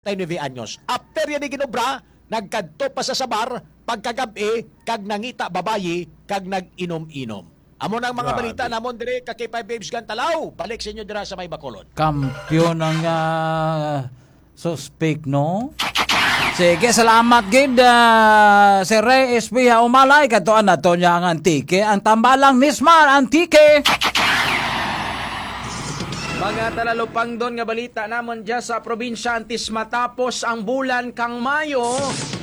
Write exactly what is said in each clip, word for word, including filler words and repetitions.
Treinta y nueve anyos. After niya ni ginobra, nagkadto pa sa sabar pagkagab-i kag nangita babayi kag nag-inom-inom. Amo na ang mga Grabe. balita namon diri ka K five Babes Gantalaw. Balik sa inyo dira sa may Bacolod. Kampiyon ang, ah, suspek, no? Sige, salamat gid, ah, Sir Ray Espeha Umalay. Katuan nato niya ang Antique, ang tambalang Nismar Antique. Mga talalupangdon nga balita namon dya sa probinsya antes matapos ang bulan kang Mayo,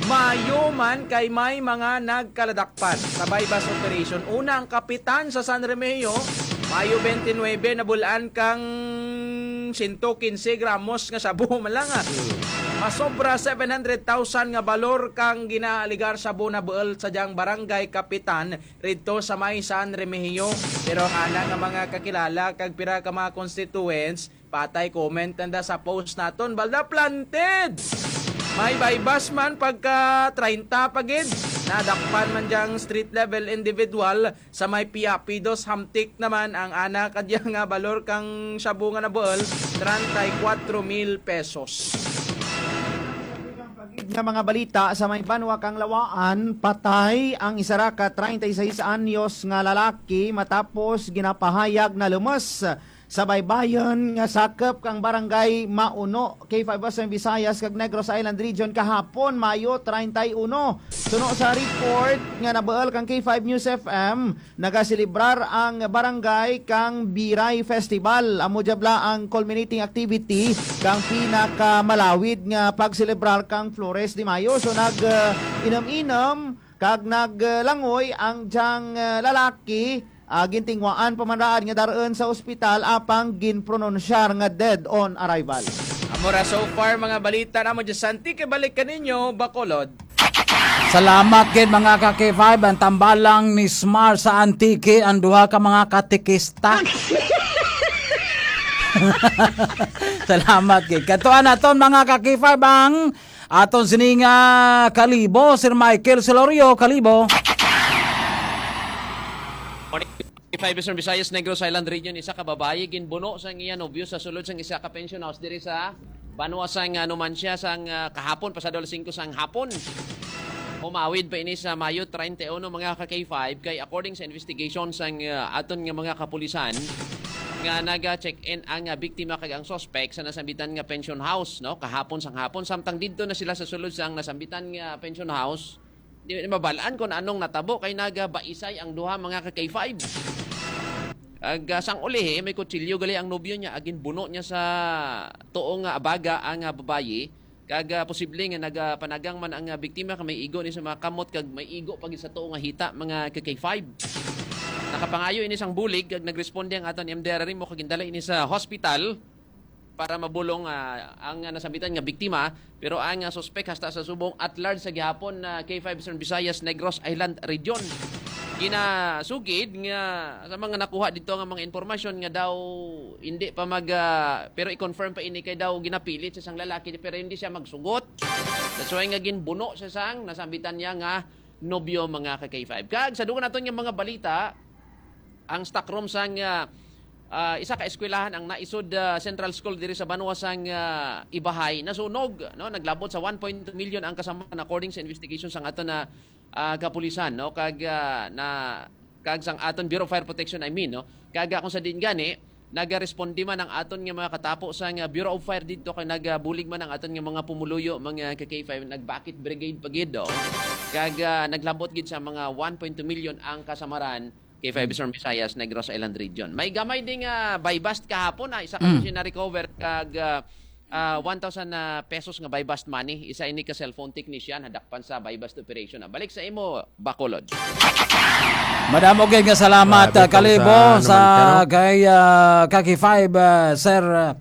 Mayo man kay may mga nagkaladakpan sa buy-bust operation. Una, ang kapitan sa San Remigio, Mayo twenty-nine, nabulan kang sento quince gramos nga shabu man lang, ah. Masobra seven hundred thousand nga balor kang ginaaligar shabu nabuol sa diyang barangay kapitan didto sa may San Remigio. Pero ang ana nga mga kakilala kag pira ka mga constituents, patay comment nanda sa post naton. Balda planted! May buy-bust man pagka treinta pa gid. Nadakpan man diyang street level individual sa may Piapidos, Hamtic naman ang ana kadya nga balor kang shabu nga nabuol, treinta y cuatro mil pesos. Nga mga balita sa may banwa kang Lawaan, patay ang isa ra ka treinta y seis anyos nga lalaki matapos ginapahayag na lumus sa baybayon nga sakop kang barangay Mauno, K five Western Visayas kag Negros Island Region kahapon, Mayo treinta y uno. Suno sa report nga nabuol kang K five News F M, nagaselebrar ang barangay kang Biray Festival. Amo jabla ang culminating activity kang pinakamalawid nga pagselebrar kang Flores de Mayo. So nag, uh, inom-inom kag naglangoy ang diyang, uh, lalaki, uh, gintingwaan pa man raad nga dar-on sa ospital apang ginpronunsyar nga dead on arrival. Amo ra so far mga balita namo dyan sa Antique. Balik kaninyo, Bacolod. Salamat gid, mga ka K five. Ang tambalang ni Smar sa Antique, ang duha ka mga katikista. Salamat gid. Katuan naton, mga ka K five, ang aton sining, ah, Kalibo, Sir Michael Celorio, Kalibo. Morning. K five Eastern Visayas, Negros Island Region, isa ka babayi ginbuno sang iya nobyo sa sulod sang isa ka pension house diri sa banwa sang, ah, Numancia sang, ah, kahapon, pasado alas singko sang hapon. Umawid pa ini sa Mayo treinta y uno, mga ka K five, kay according sa investigation sang, ah, aton nga mga kapulisan, nga naga-check-in ang, ah, biktima kag ang suspect sa nasambitan nga pension house, no, kahapon sang hapon, samtang didto na sila sa sulod sang nasambitan nga pension house. Di na mabalaan kung anong natabo kay nagabaisay ang duha, mga ka K five. Ag, ah, sang ulihi, may kutsilyo gali ang nobyo niya, ag ginbuno niya sa tuo nga abaga ang, ah, babayi. Kag, ah, posible nga nagapanagang man ang, ah, biktima kay may igo ni sa mga kamot kag may igo pa gid sa tuo nga hita, mga ka K five. Nakapangayo ini sang bulig kag nagresponde ang aton M D R R mo kag gindala ini sa hospital para mabulong, ah, ang, ah, nasambitan nga biktima, pero ang, ah, suspek hasta sa subong at large sa gihapon na K five Eastern Visayas, Negros Island Region. Ginasugid nga sa mga nakuha dito nga mga impormasyon nga daw hindi pa mag, ah, pero i-confirm pa ini kay daw ginapilit sa isang lalaki pero hindi siya magsugot. That's why nga ginbuno sa sang nasambitan niya nga nobyo, mga ka K five. Kag sa dugang naton nga mga balita, ang stock room sang, ah, ah, isa ka eskwelahan ang naisod, ah, Central School diri sa banwa sang, ah, Ibahay nasunog, no? Naglabot sa one point two million ang kasamaran according sa investigation sang aton na, ah, kapulisan, no? Kag, ah, na, kag sang aton Bureau of Fire Protection, I mean, no? Kag, ah, kung sa diin gani, nagaresponde man ang aton nga mga katapo sang, ah, Bureau of Fire didto kay nagabulig man ang aton nga mga pumuluyo, mga ka K five, nag-bucket brigade pa gid, oh. Kag, ah, naglabot gid sa mga one point two million ang kasamaran K five Eastern Visayas, Negros Island Region. May gamay ding, ah, buy-bust kahapon, ah, isa ka Mm. na recover kag, ah, ah, one thousand, ah, pesos nga buy-bust money. Isa ini ka cellphone technician, hadakpan sa buy-bust operation. Ah, balik sa imo, Bacolod. Madamo gid nga salamat, Grabe ah, tong Kalibo, sa, ano sa man siya, no? kay, ah, Kaki Five, ah, Sir, ah,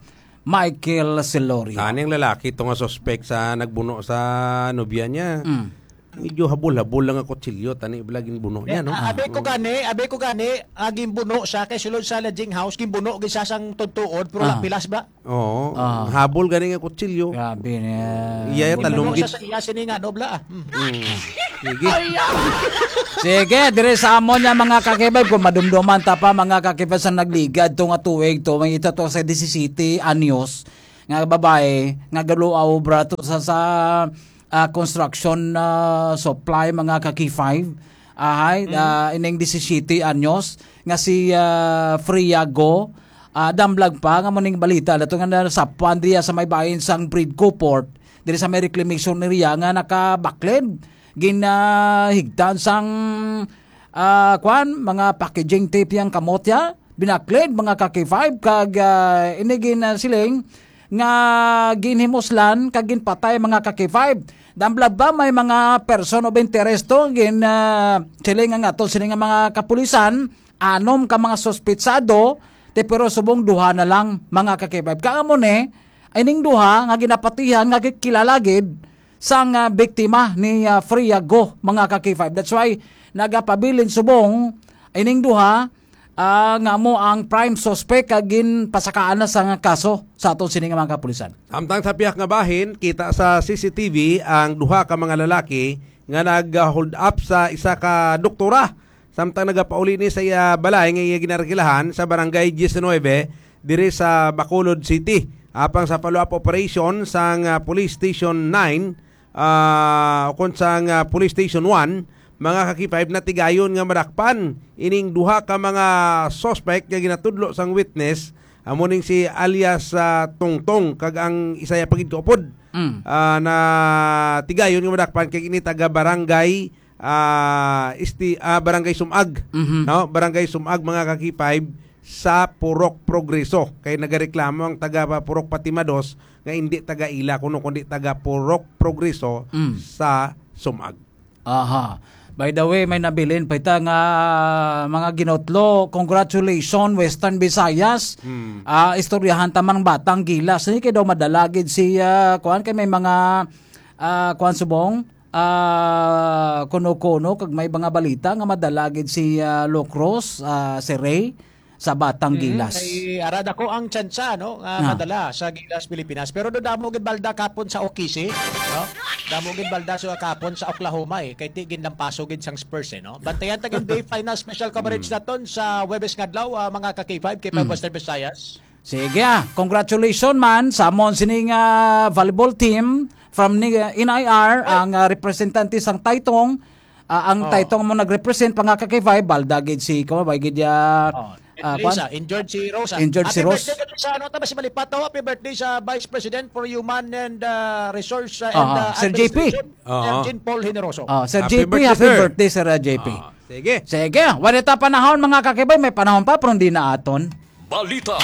Michael Celorio. Kaning lalaki to nga suspek sa nagbuno sa nobya niya. Mm. Medyo habol-habol lang ang kutsilyo, tani bala ginbuno niya, no? Ah, abi ko Mm. gani, abi ko gani, ah, ginbuno siya kay sulod sa lodging house, ginbuno gid siya sang tudtuod, pero Ah. lapilas ba? Oo, Ah. habol gani nga kutsilyo. Grabe niya. Iya, Ginbuno talong siya gid. sa iya, sini nga, nobla, ah. Mm. Mm. Sige. Sige, dire sa amon nga mga kakibay, kung madumduman ta pa, mga kakibay, sa nagligad to nga tuig to, may ito to sa disisete anyos, nga babae nga galuaw obra to sa, sa, ah, construction, ah, supply, mga ka-K five. Ahay, Mm. ah, ining disisiyete anyos nga si, ah, Freya Go, ah, damlag pa nga muning balita nato nga nasapuan diya sa may bahin sang Bridco Port, diri sa may reclamation area nga nakabaklid, ginahigtan sang, ah, kwan, mga packaging tape yang kamot ya, binaklid, mga ka-K five, kag, ah, ini gin, ah, siling nga ginhimuslan kag ginpatay, mga ka-K five. Damlag pa may mga person of interest to, gin, ah, siling nga ato sini nga mga kapulisan, anom ka mga suspitsado, te, pero subong duha na lang, mga ka-K five. Kag amo ni, ining duha nga ginapatihan nga gi-, kilala gid sang, ah, biktima ni, ah, Freya Go, mga ka-K five. That's why nagapabilin subong ining duha, ah, nga amo ang prime suspect kag ginpasakaan na sa nga kaso sa aton sini nga mga kapulisan. Samtang sa pihak nga bahin, kita sa C C T V ang duha ka mga lalaki nga nag-hold up sa isa ka doktora samtang nagapauli ni sa iya balay nga iya ginarkilahan sa Barangay Diecinueve diri sa Bacolod City. Apang sa follow-up operation sang, ah, Police Station nine, ah, ukon sang, ah, Police Station one, mga ka-K five, natigayon nga madakpan ining duha ka mga suspect nga ginatudlo sang witness, amo ning si alias, ah, Tongtong kag ang isa ya pa gid kaupod. Mm. Ah, natigayon nga madakpan kay ini taga Barangay, ah, Isti-, ah, Barangay Sumag, Mhm. no? Barangay Sumag, mga ka-K five, sa Purok Progreso. Kay nagareklamo ang taga Purok Fatima Dos nga hindi taga ila kuno kundi taga Purok Progreso Mm. sa Sumag. Aha. By the way, may nabilin pa ita nga mga ginutlo. Congratulations, Western Visayas. Mm. Ah, istoryahan ta man ang Batang Gilas. Hindi kay daw madala gid si, ah, kuan, kay may mga, ah, kuan, subong, ah, kuno-kuno kag may mga balita nga madala gid si, ah, Locros, ah, si Ray sa Batang Mm, Gilas. Kay ara dako ang tsansa, no, nga Ah. madala sa Gilas, Pilipinas. Pero do damo gid balda kapon sa Okisi, no? Damo gid balda sa kapon sa Oklahoma, eh. Kay ti ginlampaso gid sang Spurs, eh, no? Bantayan ta gid ang final special coverage Mm. naton sa Huwebes nga adlaw, ah, mga ka-K five, K five Mm. Western Visayas. Sige, ah. Congratulations man sa amon sining, ah, volleyball team from ni, ah, N I R, Ay. ang, ah, representante sang Taytong. Ah, ang Oh. Taytong mo nag-represent, mga ka-K five, balda gid si, kuan, bay gid ya, Oh. ah, At least, kuan? ah, injured si Rosa. Injured si Happy Ros. birthday gid sa, ano, tama si Malipato. Happy birthday sa Vice President for Human and, ah, Resource, ah, and, Aha. ah, Sir J P. Administration, Sir Aha. Jean Paul Generoso. Oh, Sir Happy J P, birthday, happy sir. birthday, Sir, ah, J P. Ah, sige. Sige, wala ta panahon, mga ka-K five, may panahon pa, pero hindi na aton. Balita.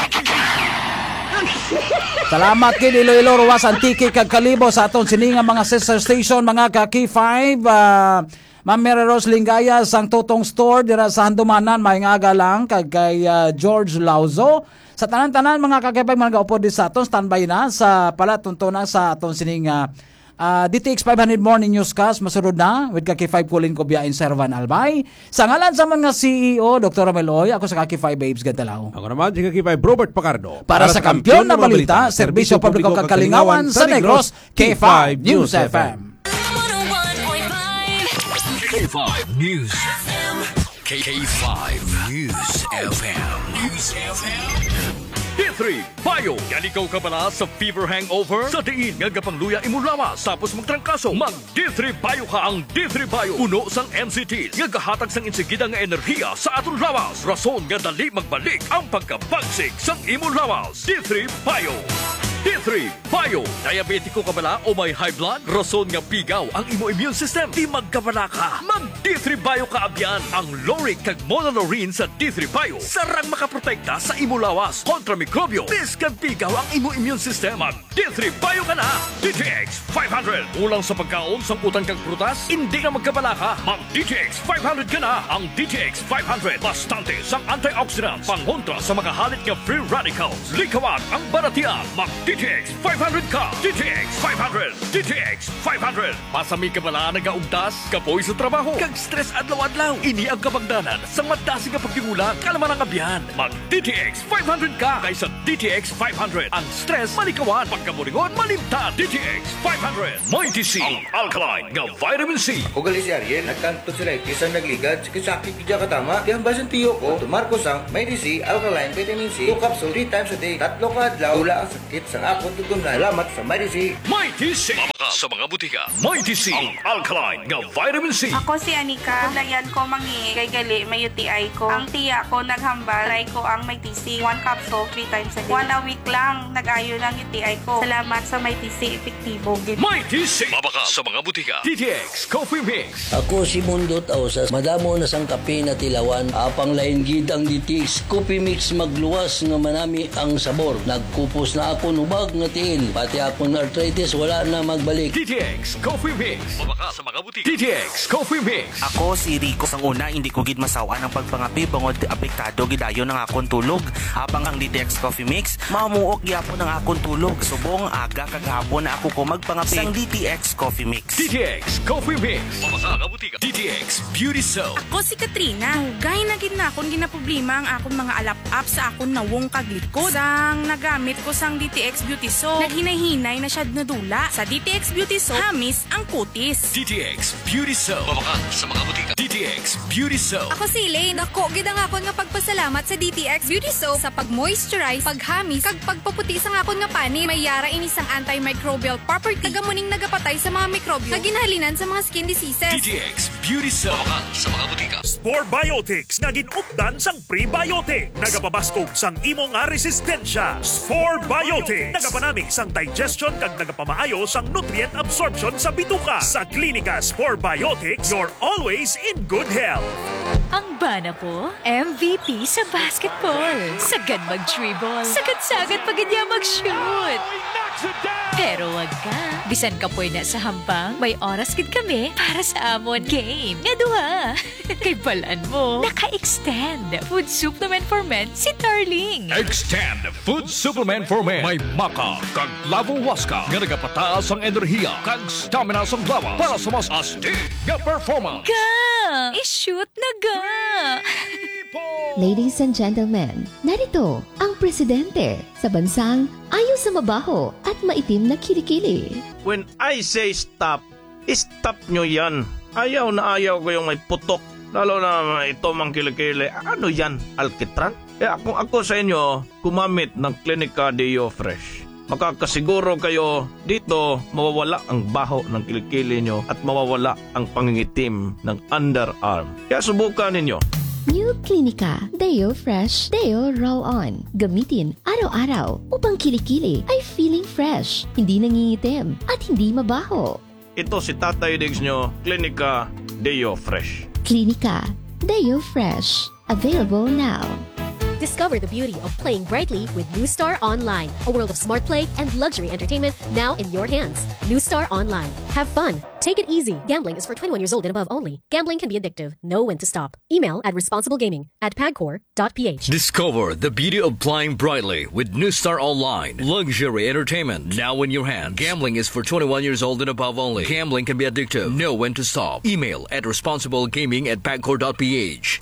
Salamat gid Iloilo, Roxas, Antique, kag Kalibo sa aton sini nga mga sister station, mga ka-K five, ah, Ma'am Mary Rose Lingaya sang Tutong Store dira sa Handumanan, may nga aga lang, kag kay, ah, George Lauzo. Sa tanan-tanan, mga ka-K five, mga nagaupod di sa aton, standby na sa palatuntunan sa aton sining, ah, ah, D T X five hundred Morning Newscast. Masunod na with ka-K five Colin Cobia and Sir Van Albay. Sa ngalan sa mga C E O, Doktor Ramel Oy, ako sa ka-K five Babes Gantalaw. Ako naman, si ka-K five Robert Pacardo. Para sa Kampiyon na Balita, Serbisyo Publiko kag Kalingawan sa Negros, K five News F M. K five News F M. K five News F M. News F M. D three Bio. Gali ka kabala sa fever hangover? Sa diin nga gapangluya imo lawas tapos magtrangkaso, mag D three Bio ka. Ang D three Bio puno sang N C T nga gahatag sang insigida nga enerhiya sa aton lawas, rason nga dali magbalik ang pagkabagsik sang imo lawas. D three Bio. D three Bio. Diabetiko ka bala o may high blood? Rason nga pigaw ang imo immune system. Di magkabala ka. Mag D three Bio ka abyan. Ang lauric kag monolaurin sa D three Bio sarang makaprotekta sa imo lawas kontra mikrobyo. Bisan pigaw ang imo immune system, mag D three Bio ka na. D T X five hundred. Kulang sa pagkaon, sangkutan kag prutas? Hindi na magkabala ka. Mag D T X five hundred ka na. Ang D T X five hundred, bastante sang antioxidants, pangontra sa mga halit nga free radicals. Likawan ang balatian. Mag D T X five hundred ka. D T X five hundred. D T X five hundred. Masami ka bala nagaugtas, kapoy sa trabaho, kag stress adlaw-adlaw? Ini ang kabangdanan sang madasig nga pagdingula, kalma lang abyan. Mag D T X five hundred ka, kay sa D T X five hundred, ang stress malikawan, pagkaburingon malimtan. D T X five hundred. May D C, ang alkaline nga vitamin C. Ako gali si Ariel, nagkang tonsillitis ang nagligad, sakit-sakit gid katama. Kaya ang basin tiyo ko, tumar ko sang May D C Alkaline Vitamin C, two capsule, three times a day, tatlo ka adlaw, wala ang sakit sa Ako tugon na salamat sa Mighty C. Mighty C. Mabakal sa mga butika. Mighty C, ang alkaline nga vitamin C. Ako si Anika. Kulayan ko mangi kay gali may U T I ko. Ang tiya ko naghambal, try ko ang Mighty C. One capsule, three times a day. One a week lang, nag-ayo ng U T I ko. Salamat sa Mighty C, epektibo gid. Mighty C. Mabakal sa mga butika. D T X Coffee Mix. Ako si Mundot Ausas. Madamo na sang kape na tilawan. Apang lain gid ang D T X Coffee Mix, magluwas nga manami ang sabor. Nagkupos na akon hubag nga tiil. Pati akon arthritis wala na magbalik. D T X Coffee Mix. Mabakal sa mga butika. D T X Coffee Mix. Ako si Rico. Sang una, hindi ko gid masaw-an ang pagpangape bangod apektado gid dayon ang akon tulog. Apang ang D T X Coffee Mix, mamuok gyapon ang akon tulog. Subong aga kag hapon na ako ko magpangape sang D T X Coffee Mix. D T X Coffee Mix. Mabakal sa mga butika. D T X Beauty Soap. Ako si Katrina. Dugay na gid na akon ginaproblema ang akon mga alap-ap sa akon nawong kag likod. Sang nagamit ko sang D T X Beauty Soap, naghinay-hinay na siya nadula. Sa D T X Beauty Soap, hamis ang kutis. D T X Beauty Soap. Mabakal sa mga butika. D T X Beauty Soap. Ako si Elaine. Dako gid ang akon nga pagpasalamat sa D T X Beauty Soap sa pag-moisturize, paghamis, kag pagpaputi sang akon nga panit. May yara ini sang antimicrobial property, kag amo ning nagapatay sa mga mikrobyo nga ginhalinan sa mga skin diseases. D T X Beauty Soap. Mabakal sa mga butika. Spore Biotics nga gin-updan sang prebiotic. Nagapabaskog sang imo nga resistensya. Spore Biotics. Nagapanami sang digestion kag nagapamaayo sang nutrient absorption sa bituka. Sa Klinika Spore Biotics, you're always in good health. Ang bana ko, M V P sa basketball. Sagad mag-dribble. Sagad-sagad pa gid niya mag-shoot. Pero wag ka. Bisan kapoy na sa hampang, may oras gid kami para sa amon game nga duha. Kay balan mo, naka-extend Food Supplement for Men si Darling. Extend Food Supplement for Men. May maca kag lavo huasca nga nagapataas ang enerhiya kag stamina sang lawas para sa mas astig nga performance. Ga! I-shoot na ga! Ladies and gentlemen, narito ang presidente sa bansang ayo sa mabaho at maitim na kilikili. When I say stop, stop nyo yan. Ayaw na ayaw ko yung may putok. Lalo na ito mang kilikili. Ano yan, alkitran? Kaya kung ako sa inyo, gumamit ng Clinica Deo Fresh. Makakasiguro kayo dito mawawala ang baho ng kilikili nyo at mawawala ang pangingitim ng underarm. Kaya subukan ninyo. New Clinica Deo Fresh Deo Roll On. Gamitin araw-araw upang kilikili ay feeling fresh, hindi nangingitim, at hindi mabaho. Ito si Tatay Diggs nyo, Clinica Deo Fresh. Clinica Deo Fresh. Available now. Discover the beauty of playing brightly with New Star Online, a world of smart play and luxury entertainment now in your hands. New Star Online. Have fun. Take it easy. Gambling is for twenty-one years old and above only. Gambling can be addictive. Know when to stop. Email at responsiblegaming at pagcor dot p h. Discover the beauty of playing brightly with New Star Online. Luxury entertainment now in your hands. Gambling is for twenty-one years old and above only. Gambling can be addictive. Know when to stop. Email at responsiblegaming at pagcor dot p h.